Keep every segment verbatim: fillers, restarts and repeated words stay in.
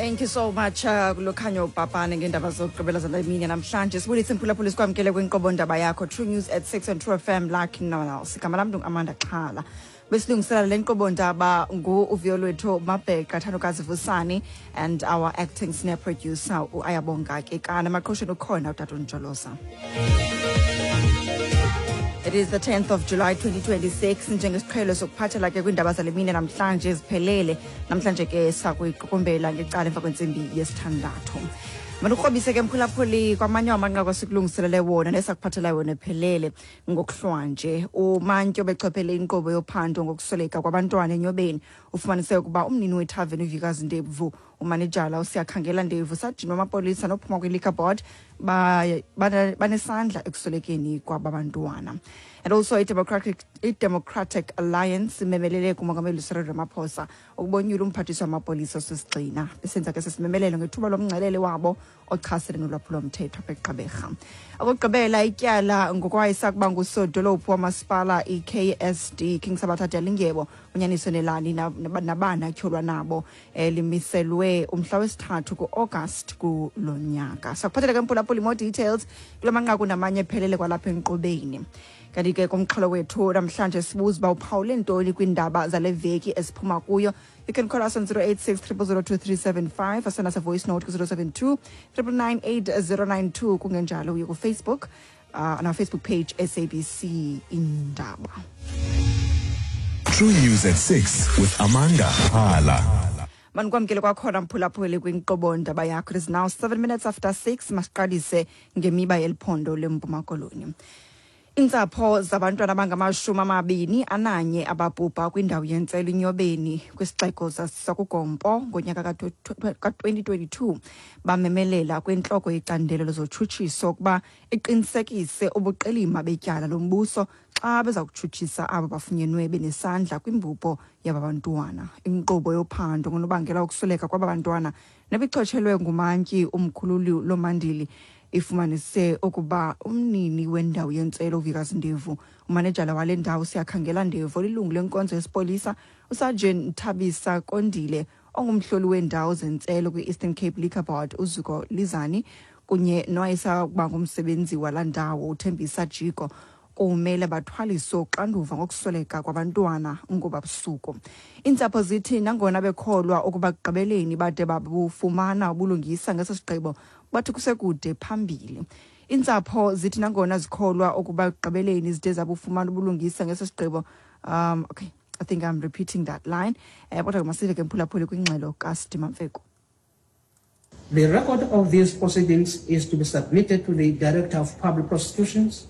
Thank you so much uh, Lukhanyo Papane ngeendaba zokugqibela zale mini namhlanje. Sibulise, mphulaphuli, sikwamkele kwinkqubo ndaba yakho True News at six on True F M like no one else. Igama lam ndingu-Amanda Xhala. Besilungiselela le nkqubo ndaba ngu-Uvuyolwethu Mabheqa, Thandokazi Vusani and our acting senior producer uAyabonga Kekana. Emaqhosheni ukhona utata uNjolosa. It is the tenth of July twenty twenty-six. Njengesiqhelo sokuphathela ke kwiindaba zale mini namhlanje ziphelele. Namhlanje ke sakuyiqukumbela ngecala emva kwentsimbi yesithandathu. Mandikrobise ke, mphulaphuli, kwamanye amanqaku esikulungiselele wona nesakuphathela wona ephelele ngokuhlwanje. Umantyi obechophele inkqubo yophando ngokusweleka kwabantwana eNyobeni ufumanise ukuba umnini wethaveni uVikazi Ndevu, umanejala uSiyakhangela Ndevu, sajini wamapolisa nophuma kwi-liquor board banesandla ekuswelekeni kwaba bantwana. And also i-Democratic, i-Democratic Alliance imemelele kumongameli Cyril Ramaphosa ukubonyula umphathiswa wamapolisa osisigxina. Besenza ke sesimemelelo ngethuba lomngcelele wabo ochasene nolwaphulomthetho apha eGqeberha. Okokugqibela, ityala ngokwayesakuba ngusodolophu wamasipala i-K S D, King Sabatha Dalindyebo, uNyaniso Nelani nabana atyholwa nabo, eh, limiselwe umhla wesithathu ku-August kulo nyaka. Sakuphathela ke, mphulaphuli, more details kula manqaku namanye ephelele kwalapha enkqubeni. Kanti ke kumxholo wethu namhlanje sibuza uba uphawule ntoni kwiindaba zale veki esiphuma kuyo. You can call us on zero eight six zero zero zero two three seven five or send us a voice note ku-zero seven two nine nine nine eight zero nine two. Kungenjalo uye kuFacebook, uh, on our Facebook page, S A B C Indaba. True News at six with Amanda Hala. Manikwamkele kwakhona, mphulaphuli, kwinkqubo ndaba yakho. It is now seven minutes after six. Masiqalise ngemiba yeliphondo leMpuma Koloni. Iintsapho zabantwana abangamashumi amabini ananye ababhubha kwindawo yentselo iNyobeni kwisixeko sakuGompo ngonyaka ka-twenty twenty-two bamemelela kwintloko yecandelo lezotshutshiso ukuba iqinisekise ubuqilima betyala lombuso xa beza kutshutshisa abo bafunyenwe benesandla kwimbubho yaba bantwana. Inkqubo yophando ngonobangela wokusweleka kwaba bantwana nebichotshelwe ngumantyi uMkhululi Lomandili ifumanise ukuba umnini wendawo yentselo uVikazi Ndevu, umanejala wale ndawo Siyakhangela Ndevu, olilungu lenkonzo yesipolisa uSergeant Thabisa Kondile, ongumhloli weendawo zentselo kwi-Eastern Cape Liquor Board uZuko Lizani, kunye nowayesakuba ngumsebenzi walaa ndawo uThembisa Jiko kumele bathwaliswe uxanduva ngokusweleka kwabantwana ngoba busuku. Iintsapho zithi nangona bekholwa ukuba ekugqibeleni bade babufumana ubulungisa ngeso sigqibo, bathi kusekude phambili. Iintsapho zithi nangona zikholwa ukuba ekugqibeleni zide zabufumana ubulungisa ngeso sigqibo, um okay, I think I'm repeating that line, um kodwa ke masive ke, mphulaphuli, kwingxelo kaSidima Mfeku. The record of these proceedings is to be submitted to the Director of Public Prosecutions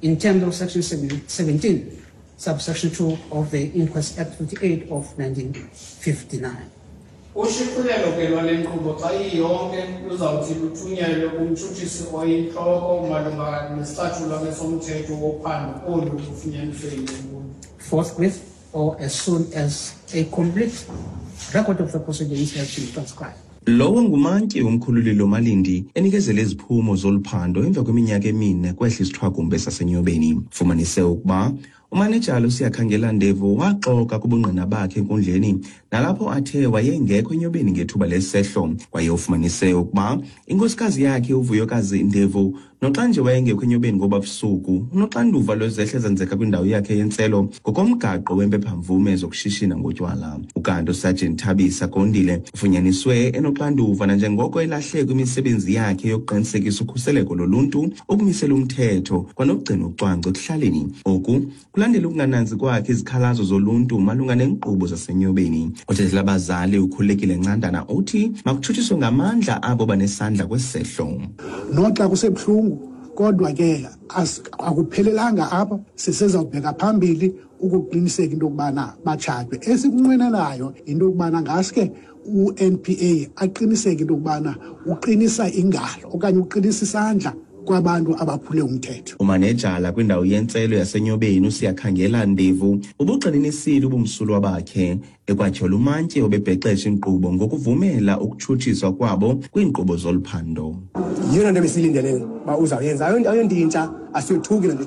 in terms of Section seventeen, subsection two of the Inquest Act fifty-eight of nineteen fifty-nine. Ushicilelo ke lwale nkqubo xa iyonke luzawuthi luthunyelwe kumtshutshisi oyintloko malunga nesicatshulwa ke somthetho wophando olu lufunyaniswe yinkundla. Forthwith or as soon as a complete record of the proceedings has been transcribed. Lowo ngumantyi uMkhululi Lomalindi enikezela iziphumo zolu phando emva kweminyaka emine kwehla isithwakumbe saseNyobeni. Fumanise ukuba umanejala uSiyakhangela Ndevu waxoka kubungqina bakhe enkundleni nalapho athe wayengekho eNyobeni ngethuba lesehlo. Kwaye ufumanise ukuba inkosikazi yakhe uVuyokazi Ndevu, noxa nje wayengekho eNyobeni ngoba busuku, unoxanduva lwezehlo ezenzeka kwindawo yakhe yentselo ngokomgaqo wempephamvume zokushishina ngotywala. Ukanti uSergeant Thabisa Kondile ufunyaniswe enoxanduva nanjengoko elahle kwimisebenzi yakhe yokuqinisekisa ukhuseleko loluntu, ukumisela umthetho kwanokugcina ucwangco ekuhlaleni. Oku kulandela ukungananzi kwakhe izikhalazo zoluntu malunga neenkqubo zaseNyobeni. Othethela abazali uKhulekile Ncandana uthi makutshutshiswe ngamandla abo banesandla kwesehlo. Noxa kusebuhlungu, kodwa ke as- akuphelelanga apha. Sisezawubheka phambili ukuqiniseka into yokubana batshatwe. Esikunqwenelayo yinto yokubana ngaske u-N P A aqiniseke into yokubana uqinisa ingalo okanye uqinisa isandla kwabantu abaphule umthetho. Umanejala kwindawo yentselo yaseNyobeni uSiyakhangela Ndevu ubugxininisile ubumsulwa bakhe, ekwatyhola umantyi obebhexesha inkqubo ngokuvumela ukutshutshiswa kwabo kwiinkqubo zolu phando. Yiyona nto besiyilindele uba uzawuyenza. Ayonto ayonto intsha, asiyothuki loo nto.